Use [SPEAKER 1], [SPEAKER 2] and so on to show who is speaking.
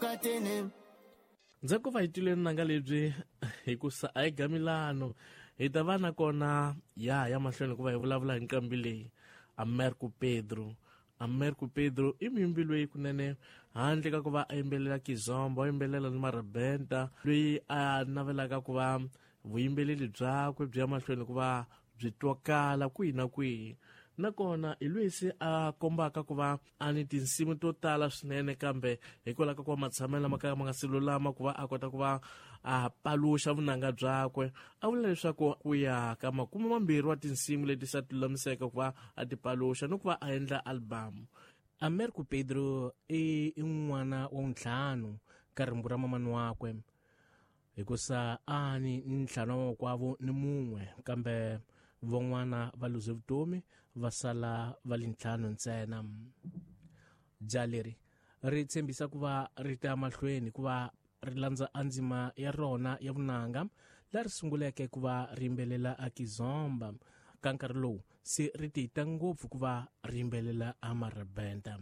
[SPEAKER 1] Katene.
[SPEAKER 2] Ndzhaku va hi twile nanga lebyi hikusa a hi gamilano hi ta va nakona ya ya mahlweni hikuva hi vulavula hi nqambi leyi Americo Pedro. Americo Pedro i muyimbi loyi kunene handle ka ku va a yimbelela kizomba, a yimbelela ni marabenta, loyi a navelaka ku va vuyimbeleri byakwe byi ya mahlweni ku va byi twakala kwihi na kwihi. Nakona hi loyi se a kombaka ku va a ni tinsimu to tala swinene, kambe hikwalaho ka ku va matshamelo lama ka ma nga si lulama ku va a kota ku va a paluxa vunanga byakwe, a vula leswaku ku ya ka 20 wa tinsimu leti sa lulamiseke ku va a ti paluxa ni ku va a endla album.
[SPEAKER 3] Americo Pedro i n'wana wa ntlhanu ka rimbu ra mamani wakwe, hikusa a ni ntlhanu wa makwavo ni mun'we, kambe van'wana va luze vutomi va sala va li ntlhanu ntsena. Ja leri ri tshembisa ku va ri ta mahlweni ku va ri landza andzima ya rona ya vunanga la ri sunguleke ku va ri yimbelela a kizomba. Ka nkarhi lowu se ri tita ngopfu ku va ri yimbelela a marabenta.